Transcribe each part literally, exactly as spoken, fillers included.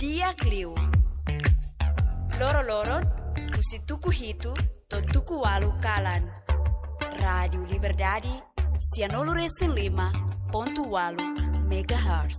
Di'ak liu. Loro-loron, husi tuku hitu to'o tuku ualu kalan. Rádiu Liberdade, sianulu-resin-lima pontu ualu megahertz.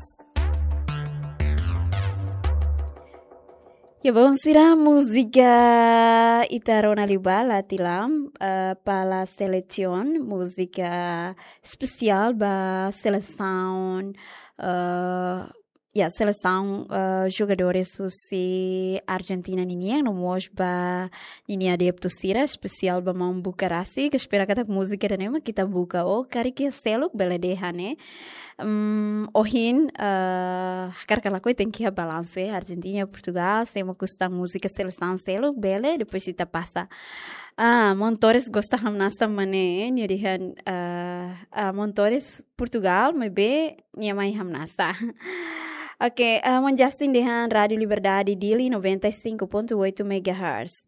Ya, belun sira, múzika ita rona liubá la tilam, eh, para selesaun, múzika espesiál ba selesaun, eh, ya, selesaun, eh, jogadores husi Argentina ninian, no mós ba ninia adeptu sira, espesiál ba maun Bukarasi, ke espera katak múzika ida-ne'e mak ita buka ou karik iha seluk bele dehan ne'e. Hmm, ohin, eh, hakarak ka lakohi tenke iha balansu, eh, Argentina, Portugal, sé mak gosta múzika selesaun seluk, bele, depois ita pasa. Ah, maun Torres gosta hamnasa mak ne'e, nia dehan, eh, ah, maun Torres Portugal, maibé nia mai hamnasa. Oke, eh, maun Justin dehan Rádiu Liberdade Dili noventa e cinco ponto oito megahertz.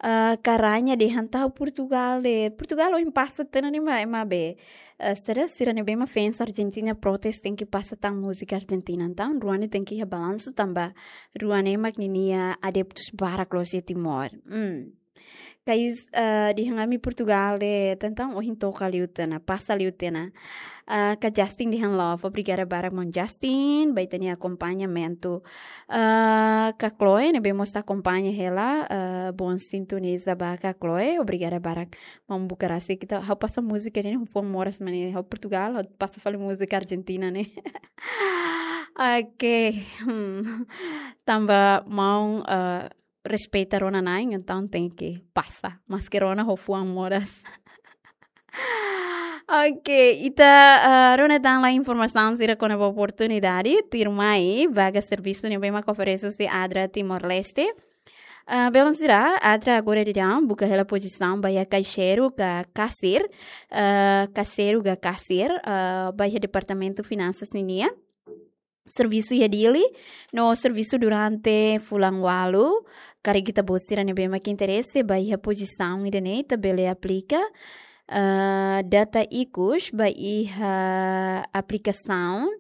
Eh, Karanha dehan tau Portugal de, Portugal ohin pasa tiha ona ne'e mak, ema be. Eh, sira, sira ne'ebé mak fans Argentina protes tenke pasa tan múzika Argentina. Entaun, rua ne'e tenke iha balansu tanba rua ne'e mak ninia adeptus barak loos iha Timor. Hmm. Kais, eh, dehan ami Portugal de, entaun ohin toka liu tiha ona, pasa liu tiha ona. Eh, Ka Justin dehan love, obrigada barak maun Justin, ba ita-nia akompañamentu. Eh, Ka Chloe, ne'ebé mós akompaña hela, eh, bom sintoniza ba Ka Chloe, obrigada barak. Maun Bukarasi, ita, ha'u pasa múzika ne'e, fuan moras mak ne'e, ha'u Portugal, ha'u pasa fali múzika Argentina ne'e. Oke, hmm. Tanba maun, eh, respeita rona na'in, entaun tenke pasa. Maske rona ho fuan moras. Oke, ita, eh, rona tan lai informasaun sira kona-ba oportunidade, tuirmai, vaga servisu ne'ebé mak oferese husi ADRA Timor-Leste. Eh, belun sira, ADRA agora daudaun buka hela pozisaun ba iha kaixeiru ka kasir, eh, kaixeiru ka kasir, eh, ba iha Departamentu Finansas ninian. Servisu iha Dili, no servisu durante fulan ualu, karik ita-boot sira ne'ebé mak interese ba iha pozisaun ida-ne'e ita bele aplika, eh, data ikus ba iha aplikasaun,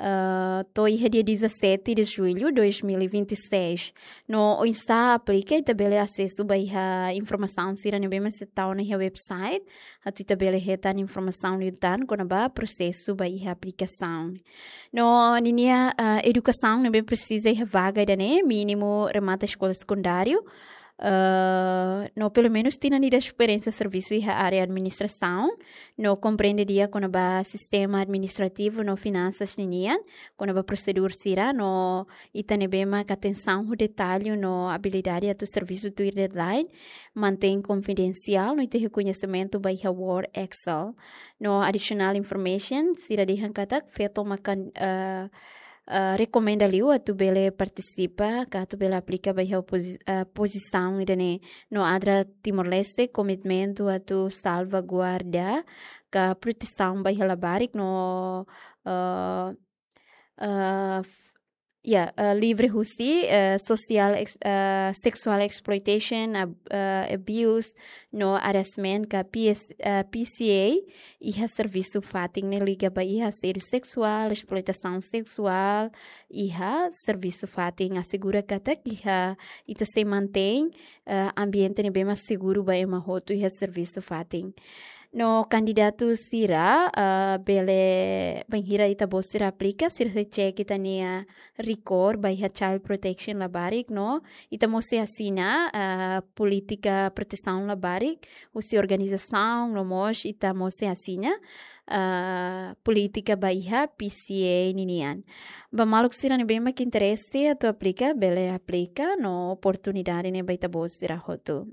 eh, to'o iha dia dezassete de julho de dois mil e vinte e seis. No oinsá aplika, ita bele asesu ba iha informasaun sira ne'ebé mak sei tau ona iha website, atu ita bele hetan informasaun liután kona-ba prosesu ba iha aplikasaun. No ninia, eh, edukasaun ne'ebé presiza iha vaga ida-ne'e, mínimu remata eskola sekundáriu, eh, no pelumenus tinan ida esperiénsia servisu iha área administrasaun, no komprende di'ak kona-ba sistema administrativu no finansas ninian, kona-ba prosedur sira, no ita ne'ebé mak atensaun ho detalle no abilidade atu servisu tuir deadline, mantein konfidensiál, no ita iha koñesimentu ba iha Word, Excel. No additional information, sira dehan katak feto mak, eh, eh, rekomenda liu atu bele partisipa, ka atu bele aplika ba iha pozi-, eh, pozisaun ida-ne'e. No ADRA Timor-Leste komitmentu atu salvaguarda ka protesaun ba iha labarik no, eh, eh, f-, ya, eh, livre husi, eh, social ex-, eh, sexual exploitation, ab-, eh, abuse, no harassment ka P S, eh, P C A, iha servisu fatin ne'e liga ba iha asédiu seksuál, esploitasaun seksuál, iha servisu fatin, asegura katak iha ita sei mantein, eh, ambiente ne'ebé mak seguru ba ema hotu iha servisu fatin. No kandidatu sira, eh, bele bainhira ita-boot sira aplika, sira sei cek ita-nia rikor ba iha child protection labarik, no ita mós sei asina, eh, polítika protesaun labarik husi organizasaun, no mós ita mós sei asina, eh, polítika ba iha P C A ninian. Ba maluk sira ne'ebé mak interese atu aplika, bele aplika, no oportunidade ne'e ba ita-boot sira hotu.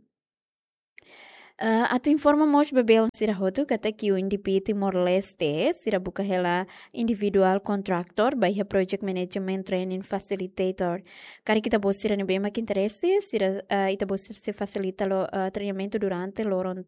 Eh, atu informa mós ba belun sira hotu katak UNDP Timor-Leste, sira buka hela individual contractor ba iha project management training facilitator. Karik ita-boot sira ne'ebé mak interese, sira, eh, ita-boot sira sei fasilita lo, eh, treinamentu durante loron,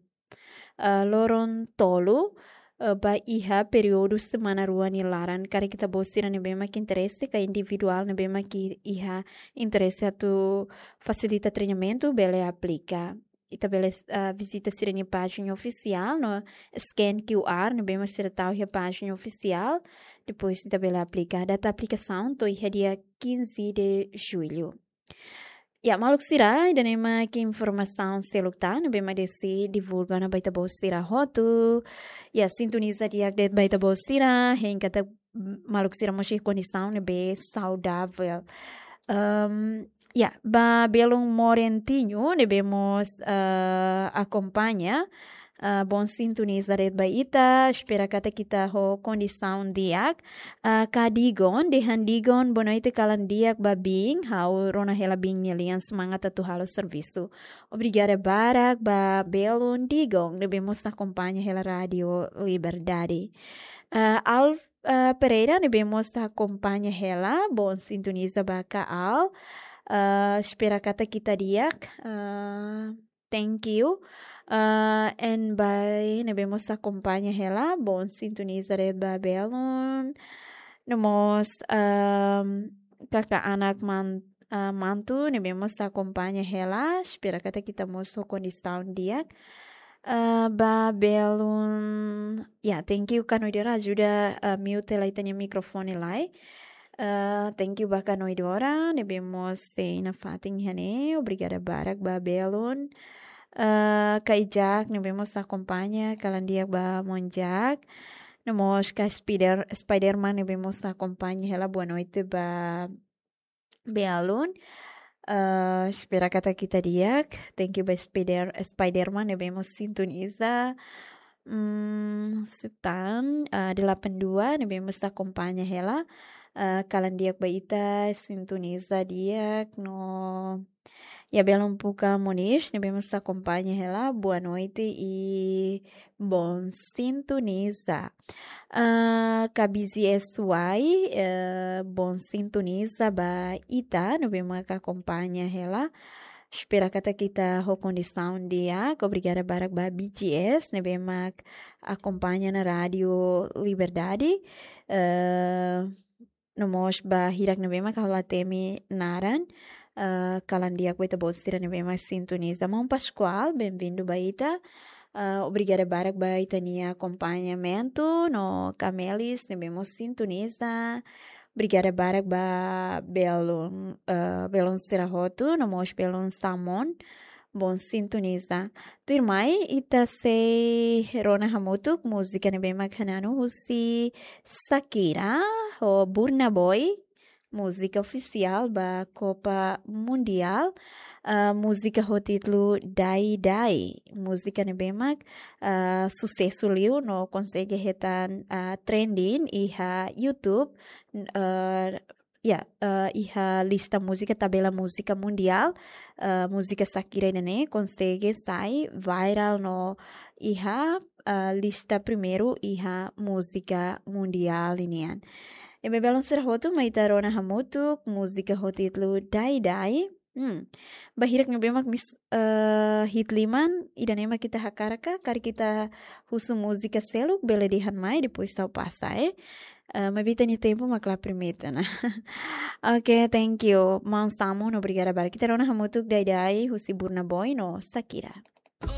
eh, loron tolu, eh, ba iha períodu semana rua nia laran. Karik ita-boot sira ne'ebé mak interese, ka individuál ne'ebé mak iha interese atu fasilita treinamentu, bele aplika. ita bele, ah, vizita sira-nia pájina ofisiál, no scan Q R ne'ebé mak sira tau iha pájina ofisiál, depois ita bele aplika. Data aplikasaun to'o iha dia quinze de julho. Ya, maluk sira, ida-ne'e mak informasaun seluk tan ne'ebé mak Desi divulga ona ba ita-boot sira hotu. Ya, sintoniza di'ak de'it ba ita-boot sira, hein katak maluk sira mós iha kondisaun ne'ebé saudavel. Ehm, ya, ba belun Morentinho ne'ebé mós, eh, akompaña, eh, bom sintoniza de'it ba ita, espera katak ita ho kondisaun di'ak. Eh, Ka Digon, dehan Digon, boa noite, kalan di'ak ba biin, ha'u rona hela biin nia lian, semangat atu halo servisu. Obrigada barak ba belun Digon ne'ebé mós akompaña hela Rádio Liberdade. Eh, Alf, eh, Pereira ne'ebé mós akompaña hela, bom sintoniza ba Ka Al. Eh, espera katak ita di'ak. Eh, thank you. Eh, en bai ne'ebé mós akompaña hela, bom sintoniza de'it ba belun. No mós, ehm, Kaka Anak Man-, eh, Mantu ne'ebé mós akompaña hela, espera katak ita mós ho kondisaun di'ak. Eh, ba belun, ya, thank you, Kanoidora, ajuda, eh, mute hela ita-nia mikrofone lai. Eh, thank you ba Kanoidora ne'ebé mós sei nafatin iha ne'e, obrigada barak ba belun. Eh, Ka Ijak ne'ebé mós akompaña, kalan di'ak ba maun Jak. No mós Ka Spider-, Spiderman ne'ebé mós akompaña hela, boa noite ba belun. Eh, espera katak ita di'ak. Thank you ba Spider-, Spiderman ne'ebé mós sintoniza. Hmm, Setan, eh, delapan dua ne'ebé mós akompaña hela. Eh, kalan di'ak ba ita, sintoniza di'ak no. Ya, belun Puka Moniz ne'ebé mós akompaña hela, boa noite i bom sintoniza. Eh, Ka B Z S Y, eh, bom sintoniza ba ita ne'ebé mak akompaña hela. Espera katak ita ho kondisaun di'ak, obrigada barak ba B G S ne'ebé mak akompaña ona Rádio Liberdade. Eh, no mós ba hirak ne'ebé mak ha'u la temi naran, eh, kalan di'ak ba ita-boot sira ne'ebé mak sintoniza. Maun Pascoal, bem-vindo ba ita. Eh, obrigada barak ba ita-nia akompañamentu, no Ka Melis ne'ebé mós sintoniza. Obrigada barak ba belun, eh, belun sira hotu, no mós belun Samon. Bom sintoniza. Tuirmai, ita sei rona hamutuk múzika ne'ebé mak hananu husi Shakira ho Burna Boy, múzika ofisiál ba Copa Mundial. Ah, múzika ho títulu Dai Dai. Múzika ne'ebé mak, ah, susesu liu no konsege hetan, ah, trending iha YouTube. N-, ah, ya, eh, iha lista múzika, tabela múzika mundiál, eh, múzika Shakira ida-ne'e konsege sai viral no iha, eh, lista primeiru iha múzika mundiál ninian. Ne'ebé belun sira hotu, mai ita rona hamutuk múzika ho títulu Dai Dai. Hmm. Ba hirak ne'ebé mak mis-, eh, hi'it liman, ida-ne'e mak ita hakarak ka, karik ita husu múzika seluk, bele dehan mai, depois ha'u pasa, eh. Eh, maibé ita-nia tempu mak la permite ona. Oke, thank you. Maun Samon, obrigada barak. Ita rona hamutuk Dai Dai, husi Burna Boy no Shakira.